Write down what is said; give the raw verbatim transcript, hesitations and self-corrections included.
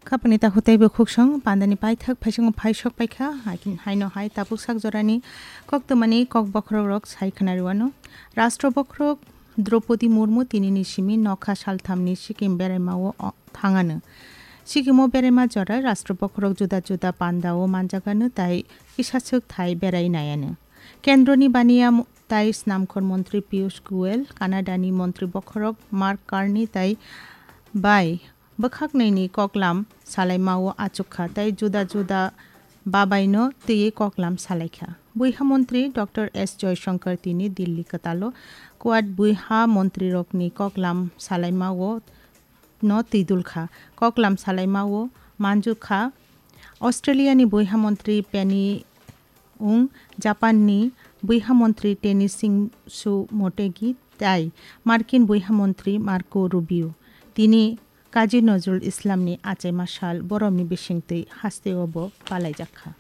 Khapani takhuk tei bukhuksong pandani paithak phaisingo phaisok paikha, haino hai tabuk sak jorani koktwmani kok bokhorok rok sai khwnariwano. Rashtra bokhorok Draupadi Murmu tinini simi nokha salthamni Sikkim beraimao thangano. Sikkimo beraima jorai Rashtra bokhorok juda juda pandao manjagano tai kisaswk thai berai naiano. Kendroni baniya tai snamkhor montri Piyush Goyal, Canadani montri bokhorok Mark Carney tai bai bwkhaknwini koklam salaimao achukha tei juda juda babaino twiwi koklam salaikha. Buiha montri Doctor S Joyshankar tini Dilli kwtalo Quad buiha montrirokni koklam salaimao no twidulkha. Koklam salaimao manjukha Australiani buiha montri Penny Wong, Japanni buiha montri Teni Singsu Motegi tai Markin buiha montri Marco Rubio. Tini Kazi Nozrul Islamni achaima sal boromni bisingtwi hasteo bo palaijakha.